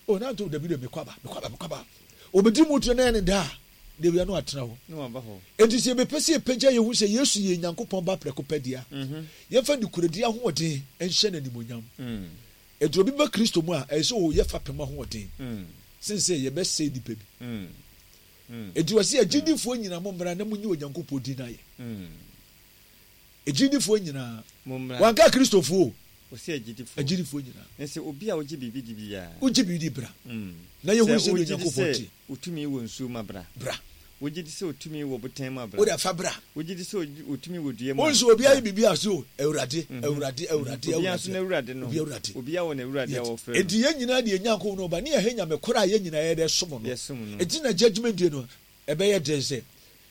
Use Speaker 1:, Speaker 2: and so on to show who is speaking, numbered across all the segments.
Speaker 1: O na nto dabi dabi mekɔ aba mekɔ aba mekɔ aba. Obedi mu tena na ɛne da a dabi ano atena hɔ. Enti sɛ yɛbɛpɛ sɛ yɛpagya yɛn ho sɛ Yesu yɛ Nyankopɔn ba prɛko pɛ deɛ a, yɛmfa nokorɛdie ahoɔden nhyɛ no animuonyam. Enti obi ba Kristo mu a, ɛyɛ sɛ ɔyɛ fapem ahoɔden sen sɛ yɛbɛsɛe nnipa bi. Enti ɔse agyidifoɔ nyina mommra na monyi Onyankopɔn din ayɛ. Agyidifoɔ nyinaa.
Speaker 2: Mommra.
Speaker 1: Wanka Kristofoɔ o.
Speaker 2: Ɔse agyidifoɔ.
Speaker 1: Agyidifoɔ nyinaa.
Speaker 2: Na sɛ obi a ɔgye biribi di biara.
Speaker 1: Wogye biribi di bra. Na yɛhunu
Speaker 2: Sɛ
Speaker 1: sɛdeɛ
Speaker 2: wogye di
Speaker 1: Onyankopɔn
Speaker 2: sɛ
Speaker 1: teɛ.
Speaker 2: otumi wɔ nsuo mu a bra.
Speaker 1: Bra.
Speaker 2: Wogye di sɛ otumi wɔ botan mu a bra.
Speaker 1: Wode fa bra.
Speaker 2: Wogye di sɛ otumi wɔ dua mu a
Speaker 1: Wonso obiara
Speaker 2: bra.
Speaker 1: yɛ biribi a ɔse o Awurade, Awurade, Awurade,
Speaker 2: Obiara nso
Speaker 1: Awurade.
Speaker 2: n'Awurade no.
Speaker 1: Obiara Awurade.
Speaker 2: Obiara wɔ n'Awurade a
Speaker 1: Yet.
Speaker 2: wɔfrɛ no.
Speaker 1: Enti yɛn nyinaa de yɛn Nyankopɔn no ba ne yɛhɛ Nyame koro a yɛn nyinaa yɛde som no.
Speaker 2: Yɛsom no.
Speaker 1: Enti na judgement day no ɛbɛyɛ den sɛ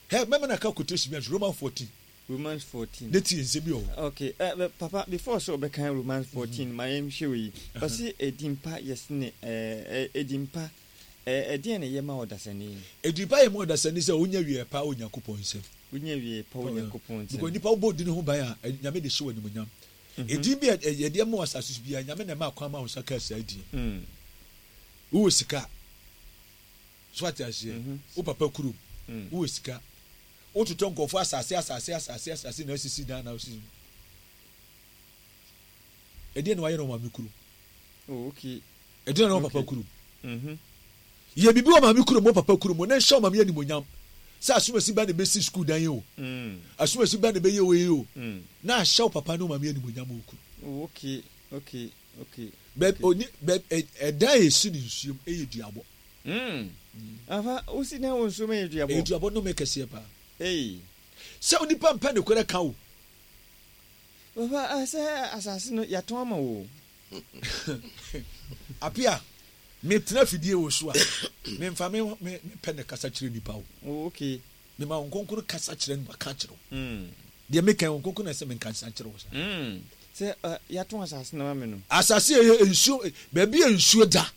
Speaker 1: hɛ mɛma no aka quotation bi anso Romans 14.
Speaker 2: Romans 14.
Speaker 1: Ne tie nsɛm bi wɔ hɔ.
Speaker 2: Okay, papa before sɛ ɔbɛkan Romans 14 ma yɛn hwɛ wei. Ɔse edin pa yɛ sene edin pa ɛdeɛn na ɛyɛ ma ɔdasani?
Speaker 1: Edin pa yɛ ma ɔdasani sɛ ɔnya awieɛ pa wɔ Nyankopɔn nsam.
Speaker 2: Wonya awieɛ pa wɔ Nyankopɔn nsam.
Speaker 1: Because nipa wobɔ odin ho ban a, Nyame de hyɛ wo animuonyam. Edin bi a yɛde ama wɔ asase so biara, Nyame na ɛma kwan ma wo nsa kaa saa edin. Wowɔ sika, so ate aseɛ, wo papa kurom, wowɔ sika, wototɔ nkurɔfoɔ asase asase asase asase na asisi dan na asisi. Ɛdeɛ na wayɛ no wɔ maame kurom.
Speaker 2: Oh, okay.
Speaker 1: Ɛdeɛ na wɔ papa kurom. Yɛ biribi wɔ maame kurom wɔ papa kurom na nhyɛ wɔ maame animonyam sɛ asomasi ba na ɛbɛsi sukuu dan yi o. Asomasi ba na ɛbɛyɛ wei o. Na ahyɛ wo papa ne wo maame animonyam wɔ kurom.
Speaker 2: Oh, okay, okay, okay.
Speaker 1: Bɛ oni bɛ ɛdan a esi ne nsuom ɛyɛ duabɔ.
Speaker 2: Afa wosi dan wɔ nsuom ɛyɛ duabɔ.
Speaker 1: Ɛyɛ duabɔ nnome kɛseɛ paa.
Speaker 2: Ei.
Speaker 1: Sɛ onipa mpɛ nokorɛ ka o.
Speaker 2: Papa ah sɛ asase no yɛatɔn ama wo o.
Speaker 1: Apia, me tena fidie wɔ so a, me nfa me me pɛ na kasa kyerɛ nipa o.
Speaker 2: Oh okay.
Speaker 1: Me ma wɔn nkonkron kasa kyerɛ no ka kyerɛ wo. Deɛ me kan wɔn nkonkron na ɛsɛ me nka nsa kyerɛ wo saa.
Speaker 2: Sɛ yɛatɔn asase no ama me no.
Speaker 1: Asase yɛ nsuo, baabi yɛ nsuo da,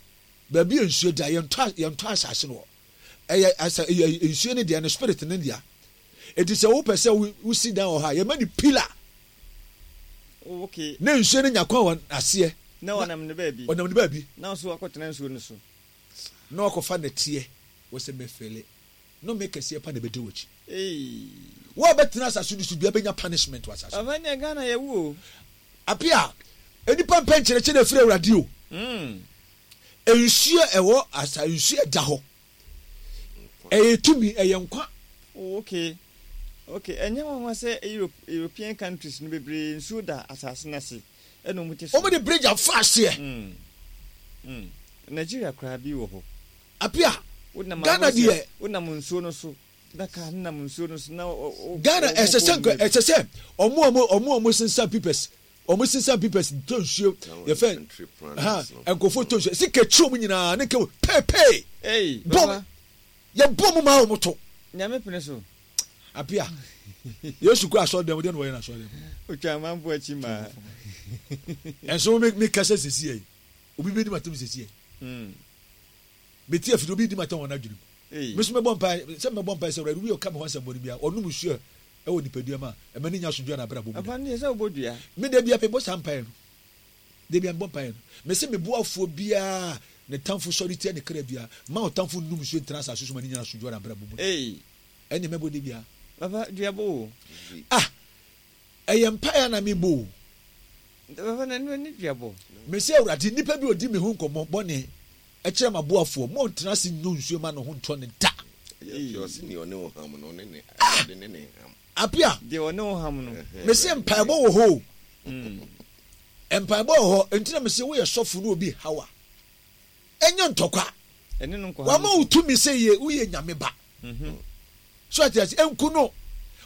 Speaker 1: baabi yɛ nsuo da, yɛntɔ yɛntɔ asase no wɔ. Ɛyɛ asa ɛyɛ nsuo ne deɛ no spirit ne deɛ. Eti sɛ wopɛ sɛ wosi dan wɔ hɔ a, yɛma no pillar.
Speaker 2: Oh, okay.
Speaker 1: Na nsuo no nya kwan wɔ aseɛ.
Speaker 2: Na ɔnam ne baabi.
Speaker 1: Ɔnam ne baabi.
Speaker 2: Na nso wakɔtena nsuo no so.
Speaker 1: Na wakɔfa nɛteɛ wɔ sɛ mɛfɛle. Nnome kɛseɛ pa na ɛbɛdi w'akyi.
Speaker 2: Eii.
Speaker 1: Wo a wobɛtena asase no so biara bɛnya punishment wɔ asase no so.
Speaker 2: Papa neɛ Ghana yɛwu o.
Speaker 1: Apia, nnipa mpɛ nkyerɛkyerɛ ɛfiri Awurade o. Nsuo ɛwɔ asa nsuo ɛda hɔ. Ɛyɛ tumi, ɛyɛ nkwa.
Speaker 2: Oh, okay. Okay, ɛnyɛ nwanwa sɛ Europe, European countries no bebree nsuo da asase no ase ɛna wɔn te so.
Speaker 1: Wɔn de bridge afa aseɛ.
Speaker 2: Nigeria koraa bi wɔ hɔ.
Speaker 1: Apia,
Speaker 2: Wonam
Speaker 1: Ghana
Speaker 2: ahɔ sɛ
Speaker 1: deɛ.
Speaker 2: wonam nsuo no so na kaa no nam nsuo no so na
Speaker 1: Ghana
Speaker 2: wɔn
Speaker 1: ɛsɛ
Speaker 2: kɔ
Speaker 1: sɛ nka
Speaker 2: nwura bi.
Speaker 1: ɛsɛ sɛ wɔn a wɔn a wɔn sensan papers Wɔn sensan papers tɔ nsuo yɛfɛ ha nkurɔfoɔ tɔ nsuo sika kyi wɔn nyinaa ne nka peepee bɔm yɛ bɔ mu maa wɔn to.
Speaker 2: Nyame pene so.
Speaker 1: Apia Yesu kɔ asɔre dɛm deɛ na wɔyɛ na asɔre dɛm.
Speaker 2: Otwa amanfo akyi maa.
Speaker 1: Ɛnso mi mi kasa sisi yɛ obi bɛ di ma tɛm sisi yɛ. Mete afidie obi di ma tɛm wɔn adwene mu. Me nso mɛbɔ mpae sɛ mɛbɔ mpae sɛ Awurade obi a ɔka me ho asɛmmɔne biara ɔnom nsuo a ɛwɔ nipadua mu a ɛma ne nya asomdwoe wɔ n'abrabɔ mu da.
Speaker 2: Ɛfa no deɛ sɛ wobɔ dua.
Speaker 1: Me da biara mebɔ saa mpaeɛ no. Da biara mebɔ mpaeɛ no. Mese me boafoɔ biara a ne tamfo sɔre tia ne kra biara, mma ɔtamfo nnom nsuo ntena asase so ma ne nya asomdwoe wɔ n'abrabɔ mu da. Ɛnneɛ mɛbɔ da biara.
Speaker 2: Papa dua bɔ o.
Speaker 1: Ah! Ɛyɛ mpaeɛ a na mebɔ o.
Speaker 2: Papa na ɛno ne dua bɔ.
Speaker 1: Mese Awurade, nnipa bi ɔdi me ho nkɔmmɔ bɔne kyerɛ m'aboafoɔ, ma ɔntena ase nnɔ nsuo mma ne ho ntɔ no da. Ah! Apia.
Speaker 2: Deɛ ɔne wo ham no.
Speaker 1: Mese mpaebɔ wɔ hɔ o. Mpaebɔ wɔ hɔ, enti na mese woyɛ sɔfo na obi haw a, ɛnyɛ ntɔkwa. Wama wo tumi sɛ yɛ woyɛ nyame ba. So ate ase, ɛnku no.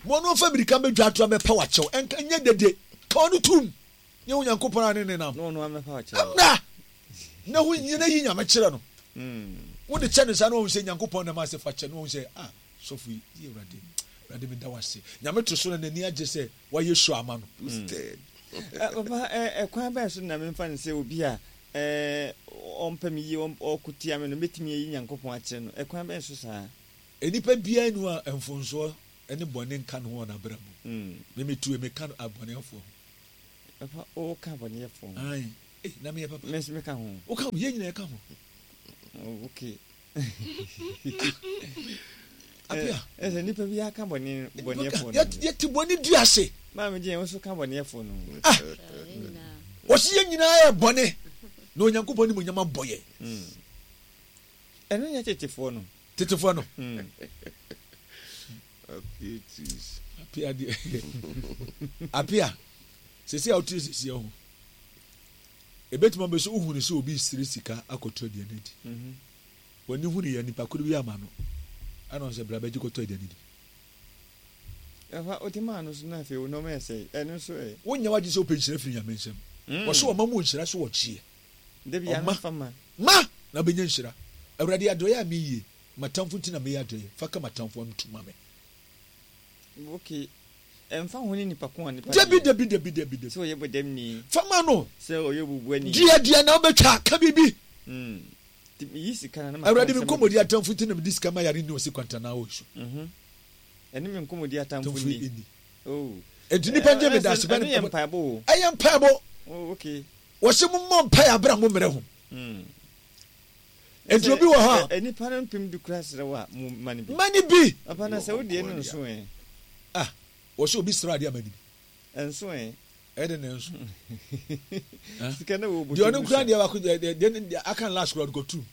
Speaker 1: Ma ɔno mfa mirika mmɛdwa ato amɛpa wakyɛw, ɛnka nyɛ dede. Ka ɔno tum. Nyɛ Onyankopɔn a ne nenam. Mmra na ho nyina yi nyame kyerɛ no. Wode kyɛ no saa na wahu sɛ Nyankopɔn nam ase fa kyɛ no wahu sɛ ah sɔfo yi yi Awurade Awurade meda wo ase. Nyame to so na n'ani agye sɛ wayɛ show ama no.
Speaker 2: Papa ɛkwan bɛn so na memfa no sɛ obi a ɔmpɛ me yie ɔko tia me no mɛtumi ayi Nyankopɔn akyerɛ no ɛkwan bɛn so saa?
Speaker 1: Nnipa biara nni hɔ a mfomsoɔ ne bɔne nka ne ho wɔ n'abrabɔ mu. Me metue meka abɔneɛfoɔ ho.
Speaker 2: Papa woka abɔneɛfoɔ ho.
Speaker 1: Ae. Ei, na meyɛ papa.
Speaker 2: Me nso meka ho.
Speaker 1: Woka ho, yɛn nyinaa yɛka ho.
Speaker 2: Oh, okay.
Speaker 1: Apia.
Speaker 2: Ɛsɛ nipa bi aka bɔne bɔneɛfoɔ no.
Speaker 1: Yɛte bɔne di ase.
Speaker 2: Maame gye yɛn nso ka bɔneɛfoɔ no.
Speaker 1: Ah. Wɔsi yɛn nyinaa yɛ bɔne na Onyankopɔn ne mu nyama bɔ yɛn.
Speaker 2: Hmm. Ɛno nyɛ tetefoɔ no.
Speaker 1: Tetefoɔ no.
Speaker 2: Hmm.
Speaker 1: Apia deɛ. Apia. Sɛsi a wote sɛsi ho. Ebetumi aba sɛ wohu no sɛ obi resrɛ sika akɔtɔ aduane adi. W'ani hu no yɛ nipa koro bi ama no, ɛna ɔno sɛ bra bɛgye kɔtɔ aduane di.
Speaker 2: Ɛfa wote maa no so na afei wo nneɛma yɛ sɛe, ɛno nso ɛ.
Speaker 1: Wonyɛ w'adwene sɛ wopɛ nhyira firi Nyame nsam. Wɔse ɔma mu nhyira so wɔkyeɛ.
Speaker 2: Da biara
Speaker 1: Ɔma.
Speaker 2: fa ma.
Speaker 1: Ma! Na wobɛnya nhyira. Awurade adɔeɛ a meyie, m'atamfo nti na meyɛ adɔeɛ, fa ka m'atamfo ano tu ma me.
Speaker 2: Okay. Ɛmfa ho ne nipa ko a nipa no
Speaker 1: Dabi,
Speaker 2: yɛ.
Speaker 1: dabi, dabi, dabi, dabi.
Speaker 2: Sɛ ɔyɛ bɔdamni.
Speaker 1: Fa ma no.
Speaker 2: Sɛ ɔyɛ obubuani.
Speaker 1: Dua deɛ na wobɛtwa, ka biribi.
Speaker 2: Mm. Nti meyi sika na na maka
Speaker 1: Awurade, me
Speaker 2: nsɛm
Speaker 1: nkɔmmɔdi
Speaker 2: agu.
Speaker 1: atamfo nti na mede sika ma yare nni ɔse kwantanaa wɔ nsu.
Speaker 2: Mhm. Ɛne me nkɔmmɔdi atamfo
Speaker 1: Atamfo
Speaker 2: nni.
Speaker 1: nni.
Speaker 2: Oh.
Speaker 1: Enti nnipa ngye me
Speaker 2: Ɛ,
Speaker 1: dase
Speaker 2: ɛno yɛ mpaebɔ o.
Speaker 1: Ɛyɛ mpaebɔ.
Speaker 2: Oh, okay.
Speaker 1: Wɔse mommɔ mpae abere a mommrɛ ho.
Speaker 2: Mm.
Speaker 1: Enti obi wɔ hɔ
Speaker 2: a. Nnipa no mpem du kura srɛ wo a, mo ma no bi.
Speaker 1: Ma no bi.
Speaker 2: Papa na sɛ wo deɛ no nso ɛ.
Speaker 1: Ah, wɔsɛ obi srɛ adeɛ a ma no bi.
Speaker 2: Ɛnso ɛ.
Speaker 1: Ɛde na ɛnso.
Speaker 2: Sika na wɔ bɔtɔ
Speaker 1: Deɛ ɔno kura deɛ baako deɛ deɛ deɛ aka no last kura ɔde kɔtum.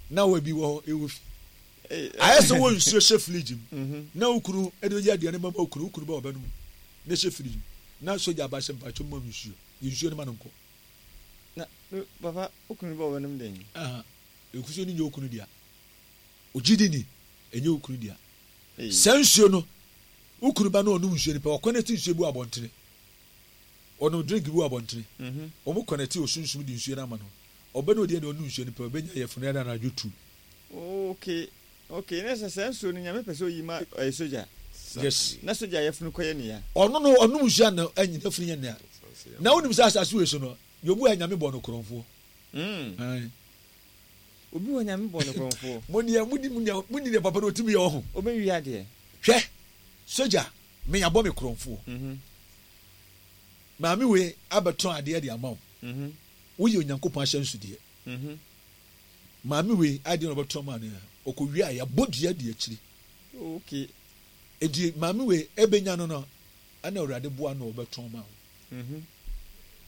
Speaker 1: Na wɔ bi wɔ hɔ ɛwɔ fi. Ayɛ sɛ wɔ nsuo hyɛ fridge mu.
Speaker 2: Mhm.
Speaker 1: Na wo kunu ɛde ɔyɛ aduane ma wo kunu, wo kunu ba ɔbɛnom na ɛhyɛ fridge mu. Na sogya aba sɛ mpakyɛ mu ma nsuo. Yɛ nsuo no ma no nkɔ.
Speaker 2: Na papa wo kunu ba ɔbɛnom dɛn?
Speaker 1: Aha, nsuo no nyɛ wo kunu dea. Ogye di ni, ɛnyɛ wo kunu dea. Saa nsuo no, wo kunu ba no ɔnom nsuo no pɛ, ɔkɔnɛte nsuo bi wɔ abɔntene. Ɔnom drink bi wɔ abɔntene.
Speaker 2: Mhm.
Speaker 1: Wɔn kɔnɛte osunsum de nsuo no ama no. Ɔbɛ no ɔdeɛ deɛ ɔnom nsuo no pɛ, ɔbɛnya yɛfunu ɛna anadwo tu.
Speaker 2: Okay, okay, na sɛ saa nsuo no Nyame pɛ sɛ oyi ma ɛyɛ sogya.
Speaker 1: Yes.
Speaker 2: Na sogya yɛfunu kɔyɛ ne ya.
Speaker 1: Ɔno no ɔnom nsuo a na ɛnyɛ yɛfunu nyɛ ne ya. Na wonim sɛ asase wei so no, deɛ obu a Nyame bɔ no korɔnfoɔ.
Speaker 2: Mm.
Speaker 1: Ae.
Speaker 2: Obi wɔ Nyame bɔ no korɔnfoɔ.
Speaker 1: Mo deɛ mo ni mo ni deɛ papa no otumi yɛ ɔho.
Speaker 2: Ɔbɛwi adeɛ.
Speaker 1: Hwɛ, sogya, me yabɔ me korɔnfoɔ.
Speaker 2: Mm -hmm.
Speaker 1: Maame wei abɛtɔn adeɛ de ama wo.
Speaker 2: Mm -hmm.
Speaker 1: Woyɛ Onyankopɔn ahyɛnsodeɛ.
Speaker 2: Mm -hmm.
Speaker 1: Maame wei adeɛ na ɔbɛtɔn maa no a, ɔkɔwie a yɛabɔ dua di akyiri.
Speaker 2: Okay.
Speaker 1: Enti maame wei ɛbɛnya no no, ɛna Awurade boa no ɔbɛtɔn ma wo.
Speaker 2: Mm-hmm.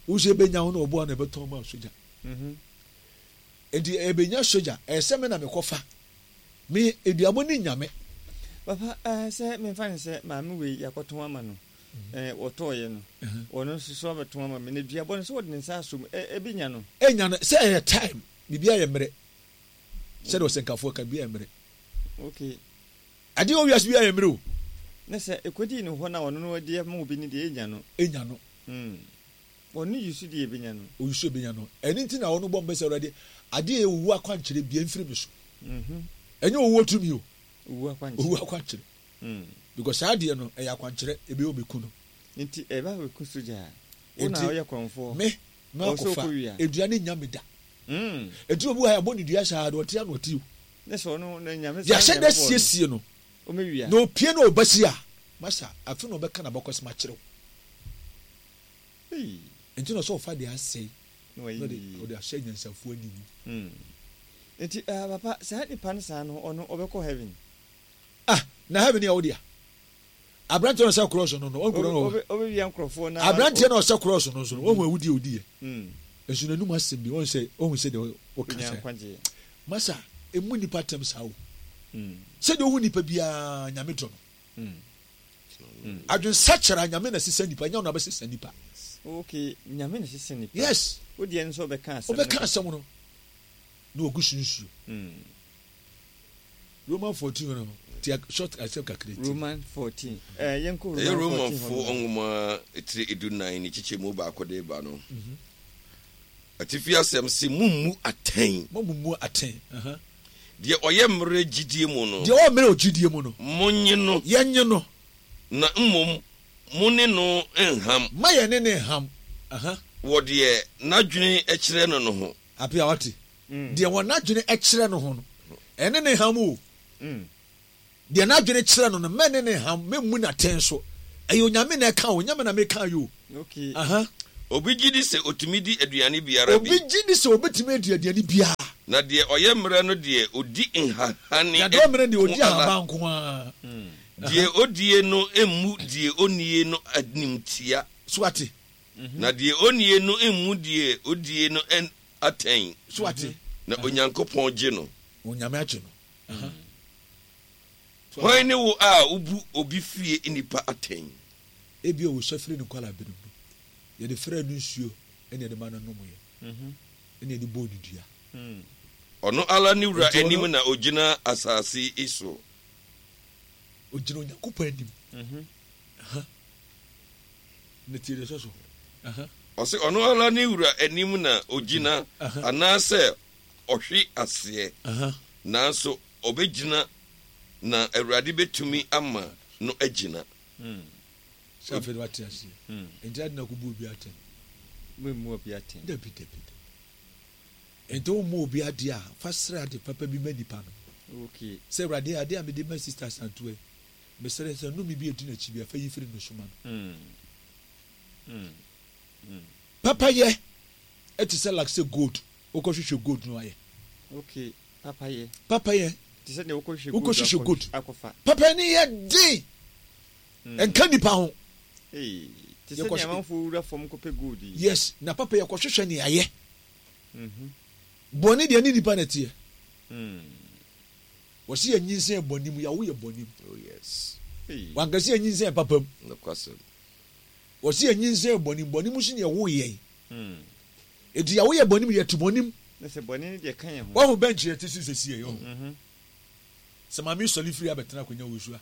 Speaker 1: Wo nso ɛbɛnya wo na ɔboa no ɛbɛtɔn ma sogya.
Speaker 2: Mm-hmm.
Speaker 1: Enti ɛbɛnya sogya, ɛyɛ sɛ me na mekɔfa. Me aduabɔ ne nyame.
Speaker 2: Papa, eh, sɛ memfa no sɛ maame wei yɛakɔtɔn ama no. Eh, wɔtɔɔyɛ no. Ɔno nso so abɛtɔn ama me. Na duabɔ no sɛ wɔde ne nsa asom, ɛbɛnya no.
Speaker 1: Ɛnya no, sɛ ɛyɛ time, biribiara yɛ mmerɛ. Sɛdeɛ ɔsɛnkafoɔ ka, biribiara yɛ mmerɛ.
Speaker 2: Okay.
Speaker 1: Adeɛ wɔ wiase biara yɛ mmerɛ o.
Speaker 2: Na sɛ ɛkɔdii ne hɔ na ɔno no de ama obi no deɛ, ɛnya no.
Speaker 1: Ɛnya no.
Speaker 2: Mm. Ɔno yi so deɛ ɛbɛnya no.
Speaker 1: Ɔyi so ɛbɛnya no. Ɛno nti na ɔno bɔ mpae sɛ, Awurade, adeɛ a ɛyɛ owuo akwankyerɛ biara mfiri me so.
Speaker 2: Mm-hmm.
Speaker 1: Ɛnyɛ owuo tumi o.
Speaker 2: Owuo akwankyerɛ.
Speaker 1: Owuo akwankyerɛ.
Speaker 2: Mm.
Speaker 1: Because saa adeɛ no, ɛyɛ akwankyerɛ, ɛbɛyɛ ɔbɛku no.
Speaker 2: Nti ɛba bɛku sogya a, wo na
Speaker 1: Nti,
Speaker 2: woyɛ korɔmfoɔ.
Speaker 1: me,
Speaker 2: Ɔwɔ sɛ
Speaker 1: makɔfa,
Speaker 2: ɔkɔ wia.
Speaker 1: dua no nnya me da.
Speaker 2: Mm.
Speaker 1: Nti obi wɔ ha, yɛabɔ no dua saa, deɛ ɔte a na ɔte o.
Speaker 2: Ne sɛ ɔno na Nyame saa
Speaker 1: Yɛahyɛ
Speaker 2: Nyame
Speaker 1: da
Speaker 2: bɔɔ no.
Speaker 1: siesie no.
Speaker 2: Ɔmɛwia.
Speaker 1: Na opie na ɔba si a, masa, afe na ɔbɛka n'abakɔsɛm akyerɛ wo.
Speaker 2: Ei.
Speaker 1: Nti na ɔsɛ ɔfa deɛ asɛe
Speaker 2: Na
Speaker 1: na
Speaker 2: wayi
Speaker 1: ɔde
Speaker 2: ne yie.
Speaker 1: ɔde ahyɛ anyansafoɔ aniwu.
Speaker 2: Mm. Nti ah, papa, saa nipa no saa no, ɔno ɔbɛkɔ heaven?
Speaker 1: Ah, na heaven yɛ wo dea? Aberanteɛ na ɔsɛ krɔɔso no no, ɔnkuro no wɔ.
Speaker 2: Ɔbɛwia nkurɔfoɔ na.
Speaker 1: Aberanteɛ na ɔsɛ krɔɔso no nso no, ɔhu awudie odiiɛ.
Speaker 2: Mm.
Speaker 1: Nso n'anum asɛm bi, ɔhu sɛ, ɔhu sɛ deɛ ɔka
Speaker 2: Ɔnya
Speaker 1: sɛ.
Speaker 2: nkwagyeɛ.
Speaker 1: Masa, emu nipa tɛm saa o.
Speaker 2: Mm.
Speaker 1: Sɛdeɛ ɔhu nipa biara, Nyame dɔ no.
Speaker 2: Mm. Mm.
Speaker 1: Adwensakyera, Nyame na sesa nipa, nyɛ ɔno abɛsesa nipa.
Speaker 2: Okay, Nyame na sesa nipa.
Speaker 1: Yes.
Speaker 2: Wo deɛ nso ɔbɛka asɛm no.
Speaker 1: Ɔbɛka asɛm no, na ɔgu so nsuo.
Speaker 2: Mm.
Speaker 1: Roman 14 no ti short asɛm kakra ti.
Speaker 2: Roman 14. Eh, yɛnkɔ Roman
Speaker 3: Ɛyɛ
Speaker 2: 14 hɔ
Speaker 3: Romanfoɔ
Speaker 2: no.
Speaker 3: nwoma tire edunan ne kyekyɛmu baako de ba no. Atifi asɛm se, Mommu atɛn.
Speaker 1: Mommu atɛn. Aha.
Speaker 3: Deɛ ɔyɛ mmerɛ gyidie mu no.
Speaker 1: Deɛ ɔwɔ mmerɛ wɔ gyidie mu no.
Speaker 3: Monnye no.
Speaker 1: Yɛnnye no.
Speaker 3: Na mmom mo ne no nham.
Speaker 1: Mma yɛne no nham. Aha.
Speaker 3: Wɔ deɛ n'adwene kyerɛ no no ho.
Speaker 1: Apia, wate? Deɛ wɔn adwene kyerɛ no ho no, ɛne ne ham o. Deɛ n'adwene kyerɛ no no, mɛne ne ham, mɛmmu no atɛn so. Ɛyɛ Onyame na ɛka o, nyɛ me na meka yi o.
Speaker 2: Okay.
Speaker 1: Aha.
Speaker 3: Obi gye di sɛ otumi di aduane biara bi.
Speaker 1: Obi gye di sɛ obetumi adi aduane biara.
Speaker 3: Na deɛ ɔyɛ mmerɛ no deɛ, ɔdi nhahane
Speaker 1: Na deɛ ɔyɛ mmerɛ no deɛ,
Speaker 3: nko
Speaker 1: ɔdi
Speaker 3: ara.
Speaker 1: ahaban nko ara.
Speaker 3: Deɛ ɔdie no mmu deɛ ɔnnie no animtia.
Speaker 1: So wate?
Speaker 3: Na deɛ ɔnnie no mmu deɛ ɔdie no atɛn.
Speaker 1: So wate?
Speaker 3: Na Onyankopɔn gye no.
Speaker 1: Onyame agye no.
Speaker 3: Hwan ne wo a wobu obi fie nnipa atɛn?
Speaker 1: Ebia ɔsua firi ne nkwadaa-bere mu. Yɛde fraa no nsuo na yɛde ma no nomeɛ, ɛna yɛde bɔɔ no dua.
Speaker 3: Ɔno ara ne wura
Speaker 1: Enti ɔno.
Speaker 3: anim na ɔgyina asase yi so.
Speaker 1: Ɔgyina Onyankopɔn anim. Aha. Na tie deɛ ɛsɔ so. Aha.
Speaker 3: Ɔse ɔno ara ne wura anim na ɔgyina anaasɛ ɔhwe aseɛ, nanso ɔbɛgyina na Awurade bɛtumi ama no agyina.
Speaker 1: Sɛ afei de wate aseɛ. Nti adi na kɔbu obi atɛn.
Speaker 2: Memmu obi atɛn.
Speaker 1: Dabi dabi dabi. Nti womma obi adeɛ a, fa srɛ ade papa bi ma nipa no.
Speaker 2: Okay.
Speaker 1: Sɛ Awurade adeɛ a mede ma Sister Asantewa yi, mesrɛ sɛ nnome bi a ɛdi n'akyi biara, fa yi firi ne so ma no. Papayɛ te sɛ like sɛ gold, wokɔhwehwɛ gold no ayɛ.
Speaker 2: Okay. Papayɛ.
Speaker 1: Papayɛ.
Speaker 2: Te sɛ deɛ wokɔhwehwɛ gold
Speaker 1: Wokɔhwehwɛ gold.
Speaker 2: akɔfa.
Speaker 1: Papayɛ no yɛ den. Ɛnka nipa ho.
Speaker 2: Ee, te sɛ deɛ amanfoɔ wura fam kɔpɛ gold yi.
Speaker 1: Yes, na papayɛ kɔhwehwɛ ne ayɛ. Bɔne deɛ ne nipa na ɛteɛ. Wɔsi yɛ nyinsɛn bɔne mu, yɛawo yɛ bɔne mu.
Speaker 3: Oh yes.
Speaker 1: Wanka sɛ yɛ nyinsɛn papa mu.
Speaker 3: Nokwasɛm.
Speaker 1: Wɔsi yɛ nyinsɛn bɔne mu, bɔne mu so na yɛwo yɛn. Enti yɛawo yɛ bɔne mu, yɛte bɔne mu.
Speaker 2: Na sɛ bɔne no deɛ ka yɛn ho.
Speaker 1: Wahu bench yɛte so sɛsi yɛ, ɔho. Sɛ maame sɔre firi abɛtena akonnwa wɔ so a,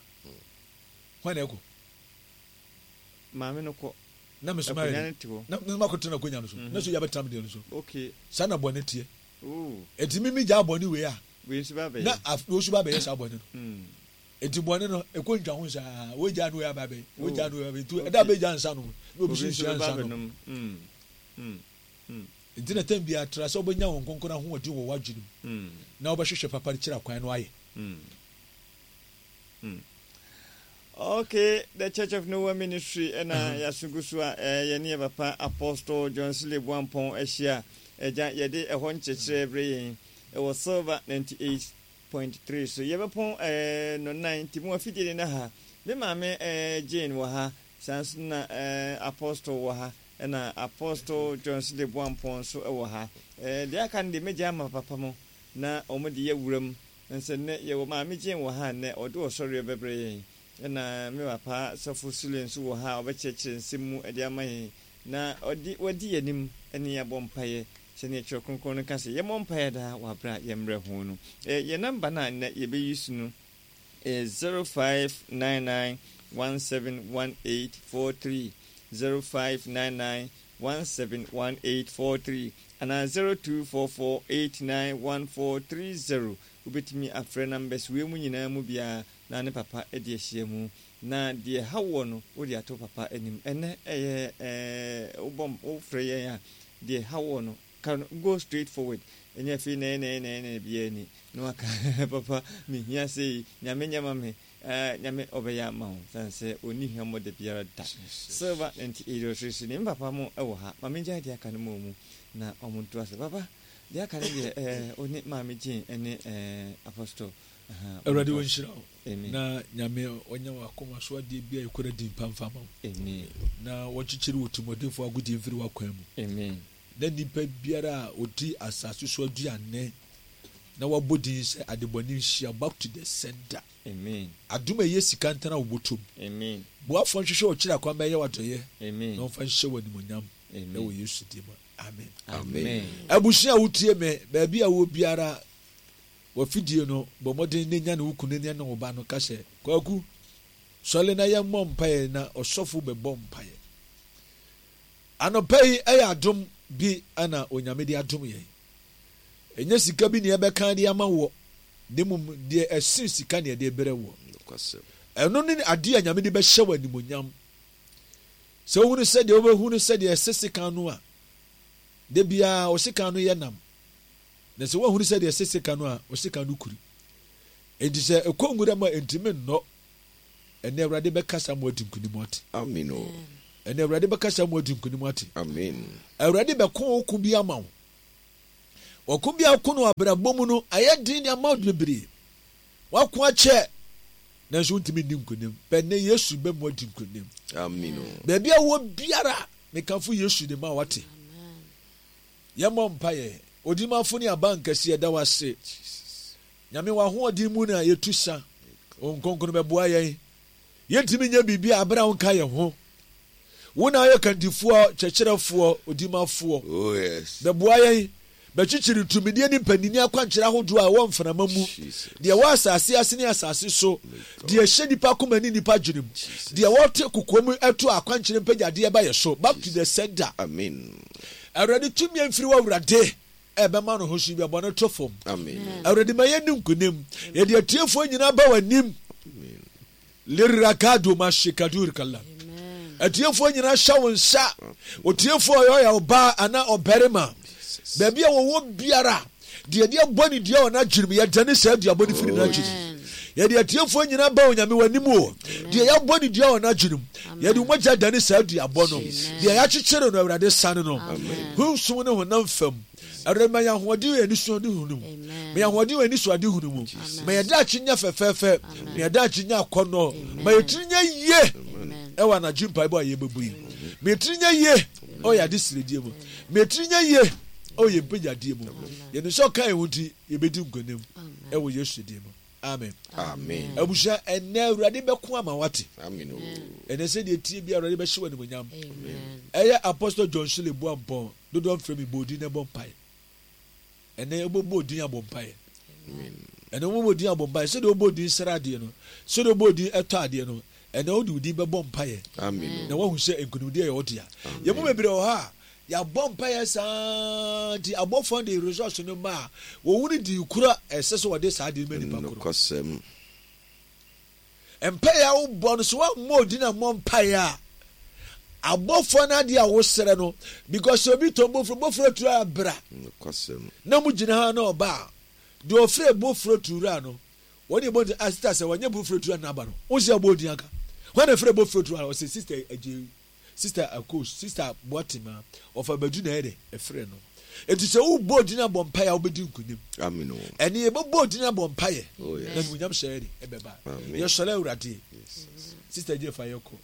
Speaker 1: hwan na ɛkɔ?
Speaker 2: Maame no kɔ.
Speaker 1: Na me so mayɛ dɛ. Na me so makɔtena akonnwa no so. Na so yɛ abɛtena me deɛ no so.
Speaker 2: Okay.
Speaker 1: Saa na bɔne teɛ.
Speaker 2: Oh.
Speaker 1: Enti me megyaa bɔne wei a.
Speaker 2: Wei nso ba abɛyɛ.
Speaker 1: Na wei nso ba abɛyɛ saa bɔne no. Enti bɔne no, ɛkɔ ntwa ho saa. Wei gyaa no wei aba abɛyɛ. Wei gyaa no wei aba abɛyɛ. Nti ɛda a bɛgyaa nsa nom no, na obi nso nsua nsa nom. Enti na tɛm biara tra sɛ wobɛnya Honhom Kronkron ahoɔden wɔ w'adwene mu na wobɛhwehwɛ papa no kyerɛ kwan no ayɛ.
Speaker 2: Okay, the Church of Noah Ministry ɛna yɛaso gu so a yɛne yɛ papa Apostle John Sule Boampɔn ahyia. Agya, yɛde ɛhɔ nkyerɛkyerɛ brɛ yɛn ɛwɔ Silver 98.3 so. Yɛbɛpɔn nnɔnnan nti mo afidie ne na ha. Me maame Jane wɔ ha, saa nso na Apostle wɔ ha, ɛna Apostle John Sule Boampɔn nso wɔ ha. Deɛ aka no deɛ mɛgya ama papa mo na wɔn de yɛ wuram. Nsɛ nnɛ yɛwɔ Maame Jane wɔ ha nnɛ, ɔde ɔsɔreɛ bɛbrɛ yɛn. Ɛna me papa Sɔfo Sule nso wɔ ha a ɔbɛkyerɛkyerɛ nsɛm mu de ama yɛn, na ɔde wadi yɛn anim ne yɛn abɔ mpaeɛ sɛdeɛ Twerɛ Kronkron no ka sɛ yɛmmɔ mpaeɛ daa wɔ aberɛ a yɛmmrɛ ho no. Yɛn namba no a nnɛ yɛbɛ use no yɛ 0599 171843, 0599 171843 anaa 0244891430. Wobɛtumi afrɛ numbers wei mu nyinaa mu biara na ne papa adi ahyia mu. Na deɛ ɛha woɔ no wode ato papa anim. Ɛnnɛ ɛyɛ ɛɛ wobɔ wofrɛ yɛn a deɛ ɛha woɔ no ka no go straight forward. Ɛnyɛ afei nɛɛ nɛɛ nɛɛ nɛɛ biara ni na waka papa mehia sei Nyame nyɛ ma me ɛɛ Nyame ɔbɛyɛ ama wo sane sɛ ɔnni hwammɔ da biara da. Silver 98.3 so ni me papa mo wɔ ha ma mengyae deɛ aka no ma ɔmu na ɔmo ntoa so. Papa deɛ aka no deɛ ɛɛ wo ne Maame Jane ɛne ɛɛ Apostle ahaa mo
Speaker 1: Awurade
Speaker 2: ntoa so.
Speaker 1: ɔnhyira wo
Speaker 2: Amen.
Speaker 1: na Nyame ɔnyɛ w'akoma so adeɛ biara ɛkura din pa mfa ma wo
Speaker 2: Amen.
Speaker 1: na wɔnkyekyere wo tirimɔdenfoɔ agodie mfiri w'akwan mu.
Speaker 2: Amen.
Speaker 1: Na nnipa biara a ɔdi asase so aduane na wabɔ din sɛ adebɔne nhyia back to the sender.
Speaker 2: Amen.
Speaker 1: Adom a ɛyɛ sika ntena wo bɔtɔ mu.
Speaker 2: Amen.
Speaker 1: Boafoɔ nhwehwɛ ɔkyerɛ akwan bɛyɛ w'adɔeɛ
Speaker 2: Amen.
Speaker 1: na ɔmfa nhyɛ wo animuonyam
Speaker 2: Amen.
Speaker 1: ɛwɔ Yesu din mu. Amen.
Speaker 2: Amen.
Speaker 1: Abusua a wotie me, baabi a wɔ biara, w'afidie no, bɔ mmɔden na nya ne wo kunu ne ne wo ba no ka sɛ, Kwaku, sɔre na yɛmmɔ mpaeɛ na ɔsɔfo bɛbɔ mpaeɛ. Anɔpa yi ɛyɛ adom bi na Onyame de adom yɛn. Ɛnyɛ sika bi na yɛbɛka de ama woɔ, na mmom deɛ ɛsen sika na yɛde brɛ woɔ. Ɛno ne adeɛ a Nyame de bɛhyɛ wo animonyam. Sɛ wohunu sɛ deɛ wobɛhunu sɛ deɛ ɛse sekan no a, da biara wo sekan no yɛ nam. Na sɛ woahunu sɛ deɛ ɛse sekan no a, wo sekan no kuri. Enti sɛ ɛkɔ nwura mu a, ɛntumi nnɔ. Ɛnnɛ Awurade bɛkasa ma woadi nkonim ate.
Speaker 3: Amen o.
Speaker 1: Ɛnɛ Awurade bɛkasa mu adi nkonim ate.
Speaker 3: Amen.
Speaker 1: Awurade bɛko wo ko bi ama wo. Ɔko bi a woko no abrabɔ mu no, ayɛ den de ama wo bebree. Wako akyɛ, nanso wontumi nni nkonim. Bɛ nnɛ Yesu bɛ mu adi nkonim.
Speaker 3: Amen.
Speaker 1: Baabi a wɔ biara, mekamfo Yesu de ma wate. Yɛmmɔ mpaeɛ. Odimafo ne abankɛse, yɛda wo ase. Nyame w'ahoɔden mu na yɛtu sa. Wo nkonkron bɛboa yɛn. Yɛntumi nyɛ biribi a bere a wonka yɛn ho. Wo na woyɛ kandifoɔ, kyerɛkyerɛfoɔ, odimafoɔ.
Speaker 3: Oh, yes.
Speaker 1: Bɛboa yɛn. Bɛkyekyere tumidie ne mpaninni akwankyerɛ ahodoɔ a ɛwɔ mframa mu, deɛ ɛwɔ asase ase ne asase so, deɛ ɛhyɛ nnipa akoma ne nnipa adwene mu, deɛ wɔte kokoa mu to akwankyerɛ mpagyadeɛ ba yɛ so. Back to the sender.
Speaker 3: Amen.
Speaker 1: Awurade tumi amfiri wɔ Awurade ɛbɛma no ho so bi a bɔne to fam. Awurade ma yɛnni nkonim. Yɛde atiefoɔ nyinaa ba w'anim. Lirakado mashikadur kala. Atiefoɔ nyinaa hyɛ wo nsa. Otiefoɔ ɔyɛ ɔyɛ ɔbaa anaa ɔbarima. Baabi a wɔwɔ biara, deɛ ɛde abɔ ne dua wɔ n'adwene mu, yɛdane saa duabɔ no firi oh, n'adwene mu. Yɛde atiefoɔ nyinaa ba Onyame w'anim o. Deɛ yɛabɔ ne dua wɔ n'adwene mu, yɛde mogya dane saa duabɔ no. Deɛ yɛakyekyere no, Awurade sane no. Honsom ne honam fam. Awurade ma yɛn ahoɔden wɔ yɛn anisoadehunu mu. Ma yɛn ahoɔden wɔ yɛn anisoadehunu mu. Ma yɛn daakye nyɛ fɛfɛɛfɛ. Ma yɛn daakye nyɛ akɔnnɔ. Ma yɛn tiri nyɛ yie ɛwɔ anadwo mpaebɔ a yɛbɛbu yi. Ma yɛn tiri nyɛ yie ɛwɔ yɛn adesrɛdie mu. Ma yɛn tiri nyɛ yie ɛwɔ yɛn mpagyadeɛ mu. Yɛnim sɛ ɔka yɛn ho nti yɛbɛdi nkonim ɛwɔ Yesu din mu. Amen.
Speaker 3: Amen.
Speaker 1: Abusua ɛnɛ Awurade bɛko ama wate.
Speaker 3: Amen.
Speaker 1: Ɛnɛ sɛ deɛ tie bi Awurade bɛhyɛ wɔ animonyam. Ɛyɛ Apostle John Shirley Boampɔn. Dodoɔ mfrɛ me bɔ odin na ɛbɔ mpaeɛ. Ɛnɛ wobɛbɔ odin abɔ mpaeɛ. Ɛnɛ wobɛbɔ odin abɔ mpaeɛ. Sɛdeɛ wobɔ odin sra adeɛ no, sɛdeɛ wobɔ odin ɛtɔ adeɛ no, ɛnɛ wode odin bɛbɔ mpaeɛ. Na woahu sɛ nkonimdie yɛ wo dea. Yɛn mu bebree wɔ hɔ a, yɛabɔ mpaeɛ saa nti abɔfoɔ de results no ma a, wɔhunu dii koro a ɛsɛ sɛ wɔde saa adeɛ no ma nipa koro.
Speaker 3: Nokwasɛm.
Speaker 1: Mpaeɛ a wobɔ no, sɛ woammɔ odin ammɔ mpaeɛ a, abɔfoɔ no adeɛ a wosrɛ no, because sɛ obi tɔn bofuro, bofuro turu a bra. Na mo gyina ha na ɔba a, deɛ ɔfrɛ bofuro turu no, wɔn yɛ bɔ nti, ah sister sɛ wɔnyɛ bofuro turu na aba no, wo sɛ ɔbɔ odin aka. Wɔn na ɛfrɛ bofuro turu a, ɔsɛ sister agye Sister Akos, Sister Boatema, ɔfa Badu na ɛyɛ dɛ ɛfrɛ no. Enti sɛ wobɔ odin abɔ mpaeɛ a wobɛdi nkonim.
Speaker 3: Amen o.
Speaker 1: Ɛne yɛbɛbɔ odin abɔ mpaeɛ.
Speaker 3: Oh, yes.
Speaker 1: Na animuonyam hyɛ yɛ de ɛbɛba.
Speaker 3: Amen.
Speaker 1: Yɛsɔre Awurade. Sister Gye fa yɛkɔ.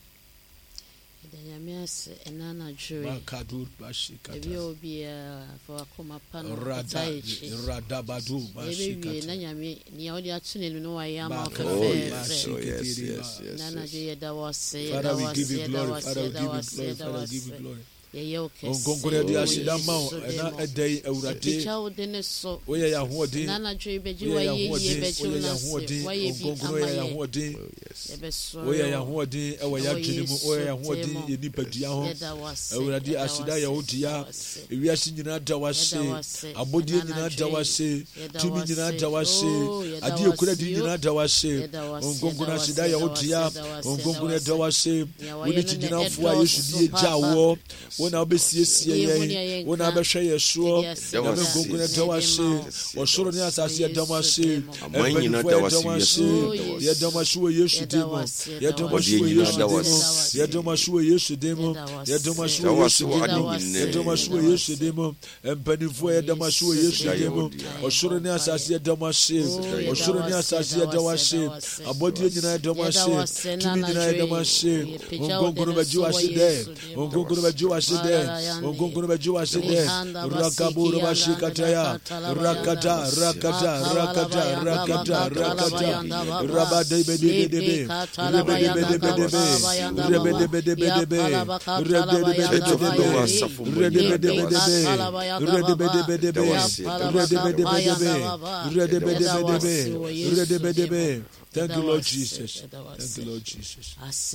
Speaker 4: Yɛda Nyame ase ɛna anadwo yi.
Speaker 1: Makadur bashikata.
Speaker 4: Baabi a obiara fa wakoma pa no
Speaker 1: Rada
Speaker 4: kɔtaa akyi.
Speaker 1: radabadu
Speaker 4: Yɛbɛwie na
Speaker 1: bashikata.
Speaker 4: Nyame nea ɔde ato n'anim no wayɛ ama wo
Speaker 3: Oh
Speaker 4: fɛfɛɛfɛ.
Speaker 3: yes, oh yes, yes,
Speaker 4: Ɛna
Speaker 3: yes,
Speaker 4: anadwo
Speaker 3: yes.
Speaker 4: yi yɛda wo ase, yɛda
Speaker 1: Father,
Speaker 4: wo
Speaker 1: we
Speaker 4: ase,
Speaker 1: give you
Speaker 4: yɛda
Speaker 1: glory.
Speaker 4: wo ase,
Speaker 1: Father, we
Speaker 4: yɛda
Speaker 1: give
Speaker 4: wo
Speaker 1: you
Speaker 4: ase,
Speaker 1: glory.
Speaker 4: yɛda wo
Speaker 1: Father, we give you
Speaker 4: ase.
Speaker 1: glory.
Speaker 4: Yɛyɛ wo
Speaker 1: Honhom
Speaker 4: kɛse
Speaker 1: Kronkron yɛde
Speaker 4: wɔ
Speaker 1: aseda ma wo
Speaker 4: Yesu din
Speaker 1: ɛna
Speaker 4: mu.
Speaker 1: ɛda yi Awurade.
Speaker 4: Yɛpagya wo din so.
Speaker 1: Woyɛ yɛn ahoɔden.
Speaker 4: Ɛna anadwo yi bɛgye
Speaker 1: Woyɛ yɛn
Speaker 4: w'ayɛyie,
Speaker 1: ahoɔden.
Speaker 4: bɛgye wo
Speaker 1: Woyɛ yɛn
Speaker 4: nase.
Speaker 1: ahoɔden.
Speaker 4: Woayɛ
Speaker 1: Honhom
Speaker 4: bi
Speaker 1: Kronkron
Speaker 4: ama
Speaker 1: woyɛ yɛn
Speaker 4: yɛn.
Speaker 1: ahoɔden.
Speaker 3: Oh yes.
Speaker 4: Yɛbɛsɔre
Speaker 1: Woyɛ yɛn
Speaker 4: wo
Speaker 1: ahoɔden ɛwɔ yɛn
Speaker 4: ɛwɔ
Speaker 1: adwene mu.
Speaker 4: Yesu
Speaker 1: Woyɛ yɛn
Speaker 4: din
Speaker 1: ahoɔden
Speaker 4: mu.
Speaker 1: yɛn nipadua ho.
Speaker 4: Yɛda wo ase,
Speaker 1: Awurade
Speaker 4: yɛda wo
Speaker 1: aseda
Speaker 4: ase,
Speaker 1: yɛ wo
Speaker 4: yɛda
Speaker 1: dea.
Speaker 4: wo ase.
Speaker 1: Ewiase nyinaa da wo ase.
Speaker 4: Yɛda wo ase
Speaker 1: Abɔdeɛ
Speaker 4: ɛna
Speaker 1: nyinaa da
Speaker 4: anadwo
Speaker 1: wo
Speaker 4: yi.
Speaker 1: ase.
Speaker 4: Yɛda
Speaker 1: Tumi
Speaker 4: wo
Speaker 1: nyinaa
Speaker 4: ase.
Speaker 1: da wo ase.
Speaker 4: Oh, yɛda
Speaker 1: Adeɛ
Speaker 4: wo
Speaker 1: ekura
Speaker 4: ase
Speaker 1: di
Speaker 4: o.
Speaker 1: nyinaa da wo ase.
Speaker 4: Yɛda wo ase,
Speaker 1: Honhom
Speaker 4: yɛda
Speaker 1: Kronkron
Speaker 4: wo ase,
Speaker 1: aseda yɛ
Speaker 4: yɛda
Speaker 1: wo
Speaker 4: wo ase,
Speaker 1: dea.
Speaker 4: yɛda wo ase,
Speaker 1: Honhom
Speaker 4: yɛda wo
Speaker 1: Kronkron yɛda wo
Speaker 4: ase.
Speaker 1: ase.
Speaker 4: Nea
Speaker 1: Wo
Speaker 4: wayɛ
Speaker 1: ne
Speaker 4: no na
Speaker 1: kyigyinafoɔ a Yesu
Speaker 4: ɛdɔɔso
Speaker 1: die gyaa
Speaker 4: paapa.
Speaker 1: woɔ. Wo na wobɛsiesie
Speaker 4: Deɛ yɛhu
Speaker 1: yɛn.
Speaker 4: nea
Speaker 1: Wo na
Speaker 4: yɛnka.
Speaker 1: wobɛhwɛ yɛn soɔ.
Speaker 4: Yɛde
Speaker 3: Yɛda wo
Speaker 1: Nyame
Speaker 4: aseda
Speaker 3: ase,
Speaker 1: Kronkron yɛda wo
Speaker 4: na ɛde
Speaker 1: ase.
Speaker 4: ma wo.
Speaker 3: Yɛda wo
Speaker 1: Ɔsoro ne
Speaker 3: ase.
Speaker 1: asase
Speaker 4: Wɔ
Speaker 1: yɛda mo
Speaker 4: Yesu
Speaker 1: ase.
Speaker 4: din mu.
Speaker 3: Aman nyinaa
Speaker 1: Mpanimfoɔ
Speaker 3: da wo
Speaker 1: yɛda
Speaker 3: ase,
Speaker 1: mo
Speaker 3: wiase
Speaker 1: ase.
Speaker 4: Oh,
Speaker 3: nyinaa da wo ase.
Speaker 1: Yɛda mo ase wɔ Yesu
Speaker 4: Yɛda
Speaker 1: din
Speaker 4: wo
Speaker 1: mu.
Speaker 4: ase, yɛda
Speaker 1: Yɛda
Speaker 4: wo
Speaker 1: mo ase
Speaker 3: Abɔdeɛ
Speaker 1: wɔ
Speaker 3: nyinaa
Speaker 1: Yesu
Speaker 3: da wo
Speaker 1: din mu.
Speaker 4: ase,
Speaker 3: ase.
Speaker 1: Yɛda mo ase wɔ Yesu din mu.
Speaker 4: Yɛda wo
Speaker 1: Yɛda mo ase
Speaker 4: ase.
Speaker 3: Da
Speaker 1: wɔ
Speaker 3: wo
Speaker 1: Yesu
Speaker 3: ase wɔ
Speaker 1: din
Speaker 3: ade
Speaker 4: Yɛda
Speaker 1: mu.
Speaker 4: wo ase.
Speaker 1: Yɛda mo
Speaker 3: nyinaa
Speaker 1: ase
Speaker 3: mu.
Speaker 1: wɔ
Speaker 4: Yɛda wo
Speaker 1: Yesu
Speaker 4: ase.
Speaker 1: din mu. Mpanimfoɔ
Speaker 4: Wɔ
Speaker 1: yɛda mo ase wɔ
Speaker 4: Yesu
Speaker 1: Yesu
Speaker 3: Aseda
Speaker 4: din
Speaker 3: yɛ
Speaker 1: din
Speaker 3: wo
Speaker 1: mu.
Speaker 4: mu.
Speaker 3: dea.
Speaker 1: Ɔsoro
Speaker 4: Yɛbɔ
Speaker 1: ne asase
Speaker 4: mpaeɛ.
Speaker 1: yɛda mo ase.
Speaker 4: Oh,
Speaker 3: Aseda yɛ
Speaker 4: yɛda
Speaker 3: wo
Speaker 1: Ɔsoro
Speaker 4: wo
Speaker 1: ne
Speaker 4: ase,
Speaker 1: asase
Speaker 4: yɛda wo
Speaker 1: yɛda wo
Speaker 4: ase,
Speaker 1: ase.
Speaker 4: yɛda wo ase.
Speaker 1: Abɔdeɛ nyinaa yɛda mo
Speaker 4: Yɛda
Speaker 1: ase.
Speaker 4: wo ase na
Speaker 1: Tumi nyinaa
Speaker 4: anadwo
Speaker 1: yɛda mo
Speaker 4: yi.
Speaker 1: ase.
Speaker 4: Yɛpagya
Speaker 1: Honhom
Speaker 4: wo
Speaker 1: Kronkron
Speaker 4: din
Speaker 1: bɛgye
Speaker 4: so
Speaker 1: wo
Speaker 4: wɔ
Speaker 1: ase dɛ.
Speaker 4: Yesu din
Speaker 1: Honhom
Speaker 4: mu.
Speaker 1: Kronkron bɛgye wo ase dɛ. Honhom Kronkron bɛgye wo ase dɛ. Rakaburu bashikataya. Rakata, rakata, rakata, rakata, rakata. Rabadebedebedebe. Rebedebedebedebe. Rebedebedebedebe.
Speaker 3: Church of
Speaker 1: Rebedebedebedebe.
Speaker 3: Noah asafo mma nyinaa da wo ase.
Speaker 1: Rebedebedebedebe.
Speaker 3: Yɛda wo
Speaker 1: Rebedebedebedebe.
Speaker 3: ase, yɛda wo ase, yɛda wo ase.
Speaker 1: Rebedebedebedebe.
Speaker 3: Yɛda wo ase.
Speaker 1: Rebedebedebedebe. Thank you, Lord Jesus. Thank you, Lord Jesus.